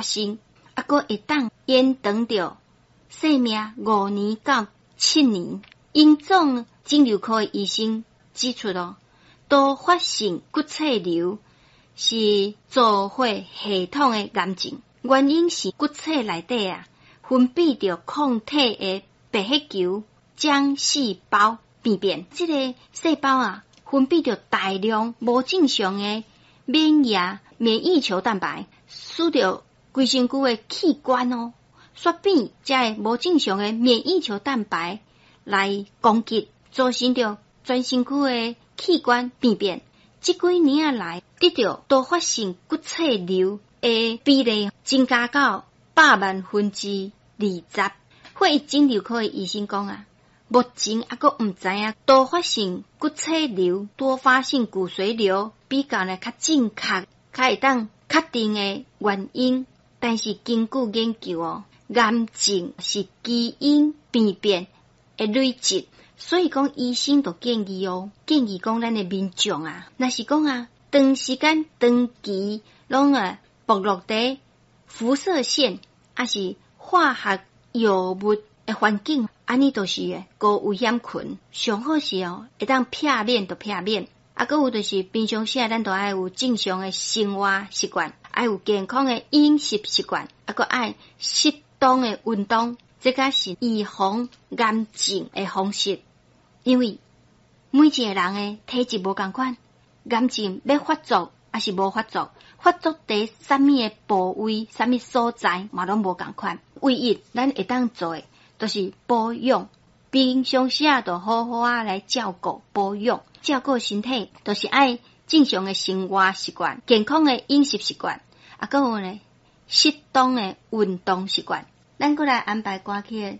生，猶閣會當延長著生命5年到7年。榮總腫瘤科的醫生指出咯，多發性骨髓瘤是造血系統的癌症，原因是骨髓內底啊分泌著抗體的白血球漿細胞病變，這个細胞啊分泌著大量無正常的免疫球蛋白，使著規身軀的器官哦，煞變這个無正常的免疫球蛋白來攻擊，造成著全身軀的器官病變。這幾年來，得著多發性骨髓瘤的比例增加到20%。血液腫瘤科的醫生講啊，目前猶閣毋知影多發性骨髓瘤、多發性骨髓瘤比較呢較正確、較會當確定的原因。但是根據研究哦，癌症是基因病變的累積，所以講醫生就建議哦，建議講咱的民眾啊，若是講啊，長時間長期攏啊暴露佇輻射線，抑是化學藥物的環境，按呢就是高危險群。上好是哦，會當避免就避免。啊，閣有就是平常時啊，咱都愛有正常的生活習慣，愛有健康的飲食習慣，啊，閣愛適當的運動，這才是預防癌症的方式。因為每一個人的體質無仝款，癌症欲發作抑是無發作，發作佇啥物的部位、啥物所在嘛攏無仝款。唯一咱會當做的，就是保養。平常時啊，就好好仔來照顧保養，照顧身體，就是愛正常的生活習慣、健康的飲食習慣，啊，閣有呢適當的運動習慣。咱閣來安排歌曲。